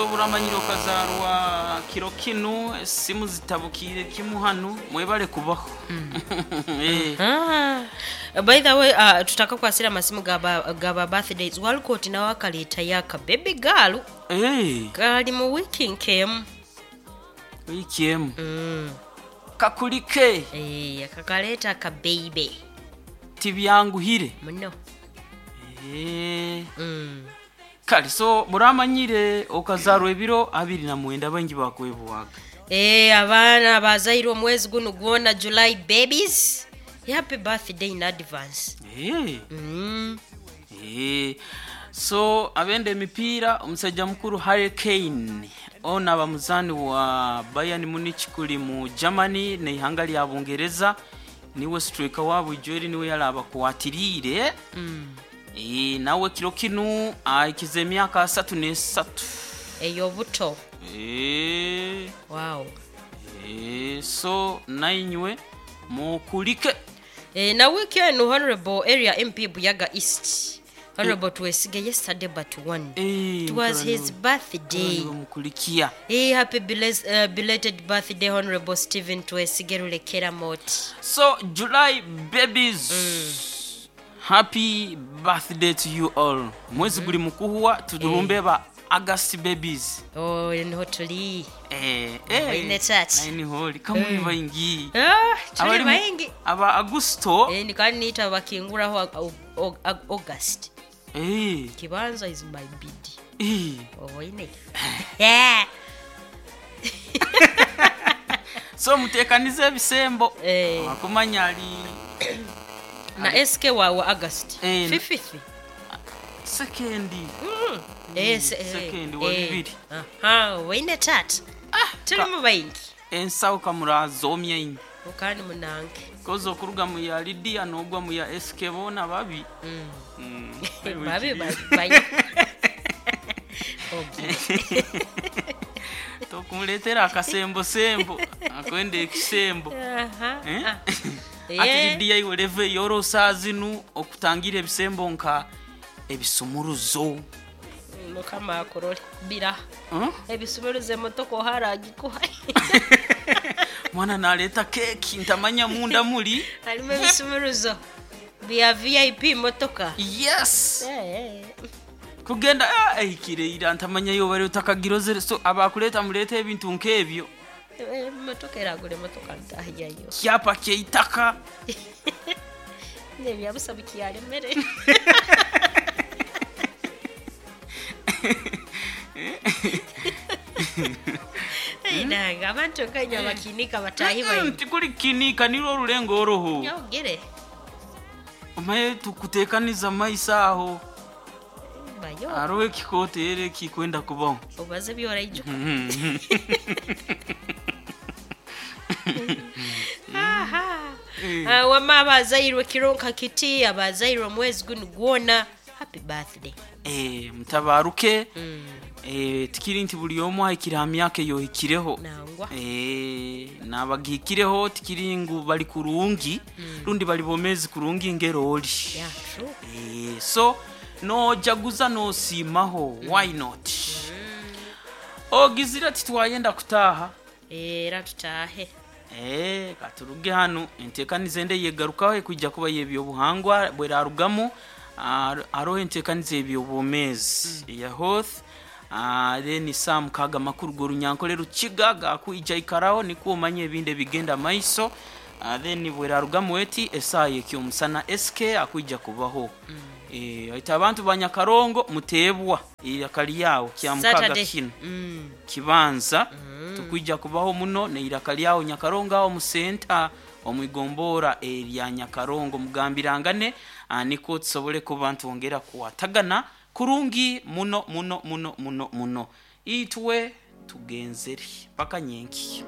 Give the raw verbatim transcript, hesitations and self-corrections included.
Oburamanyire okazarwa kiro kinu, esimu zitabukiire kimu hanu, mwebale kubaho. Eh. Ah, by the way, uh, tutakakwasira amasimu gaba, gaba birthdays, Walcott nawe akaleetayo aka baby girl Eh, kali mu wiiki nk'emu. Wiiki emu. Mm. Kakulike. Eh, akakaleeta aka baby Tibyanguhire. muno. Eh. Mm. Kale so buramanyire okazarwa ebiro abiri na mwenda, baingi bakwebwaga. Eh, abaana abazairwe omwezi guno gwona, July babies, happy birthday in advance. Eh. Mm. Eh. So abenda emipiira, omusajja mukuru Harry Kane ono aba muzaani wa Bayern Munich kuli mu Germany neihanga lya Bungereza, niwe striker waabwe ijweri, niwe yarabakwatiriire. Mm. Eh, nawe kiro kinu ahikize emyaka asatu n'esatu Ey'obuto. Eh, Wow. eh, so nainywe mukulike. Eh, na wiiki eno Honorable Area M P Buyaga East, Honorable Twesige, yesterday but one, Eh, it was mutabani his we- birthday. mutabani we mukulikia. Hey, happy belas- uh, belated birthday, Honorable Stephen Twesige Rulekera Moti. So July babies, happy birthday to you all. Mwezi guli mukuhuwa, tudurumbe ba August babies. Oh, niho tuli. Eh, Oine church. Naini holi kamuli baingi. Ah, tuli Abali mu- baingi. Aba Agusto. Eh, nikandi niita bakinguraho Au- Au- Au- August. Eh, Kibanza is my bid. eh. Oine. Yeah. So mutekanize ebisembo. Eh. Akumanya ali Na S K wa, wa August. Eh, Fifth. Sekendi. Eh, se- eh, Second wa eh. bibiri. Aha, oine tata. Tuli mu baingi. Ensawo kamurazomya inyi. Okandi munange. Koza okuruga mu ya Lydia n'ogwa mu ya S K, boona babi. Mm. Mm. Babi babi bayo. Okay. Tokumuleetera akasembosembo akwenda ekisembo. Aha. Eh? Ah. Ati Eh. Lidiya iwe leve yorosa zinu okutangira ebisembo nka ebisumuruzo. Mukama akurole bira. Hmm? Ebisumuruzo emotoka oharagikuha. Mwana naleeta keeki ntamanya munda muli. Harimu ebisumuruzo bya V I P motoka. Yes. Eh, eh. Kugenda ah, ehikire ira ntamanya yo bari utakagirozere, so abakuleeta muleeta ebintu nk'ebyo. Eh, motoka eragura emotoka ntahiyayo. Kyapa kyeitaka. Nebyabusa bikyaremere. Nanga abantu kanya bakinika batahi Mm, baingi. tikuli kinika nirwo orulengo oruhu. Nyogere. Omaye tukutekaniza maiso aho. Bayo. Hariho ekikooti era ekikwenda kubaho. Obaze byoraijuka. Aha. Ah, wama abazairwe kironka kiti, abazairwe omwezi guno gwona, happy birthday. Eh, mutabaruke. Mm. Eh, tikiri nti buri omwe ahikire aha myaka eyohikireho. Nangwa. Eh, nabagihikireho tikiri ngu bari kurungi rundi bari bomezi kurungi ngerori. Yeah, true. Eh, so nojaguza nosiimaho, why not? Ogizire ati twayenda kutaaha. Era tutahe. Eh, katuruge hanu, enteekaniza ende yegarukaho ekwijja kuba yebyobuhangwa bwerarugamu. ah, hariho enteekaniza ebyobwomeezi eya health. ah, then saa mukaaga amakuru g'orunyankole rukiga gakwija ikaraho nikwo omanye ebindi ebigenda maiso. Ah, then bwerarugamu eti esaaha ekyomusana S K akwija kubaho. Eh, aita abantu ba Nyakarongo muteebwa iraka lyawo kya mukaaga Saturday. kino. Mm. Kibanza tukwija kubaho muno neiraka lyawo Nyakarongo aho musenta omwigombora erya Nyakarongo, mugambirangane ah, niko tusobole kuba ntwongera kuwatagana kurungi muno muno muno muno muno. Itwe tugenzere paka nyenki.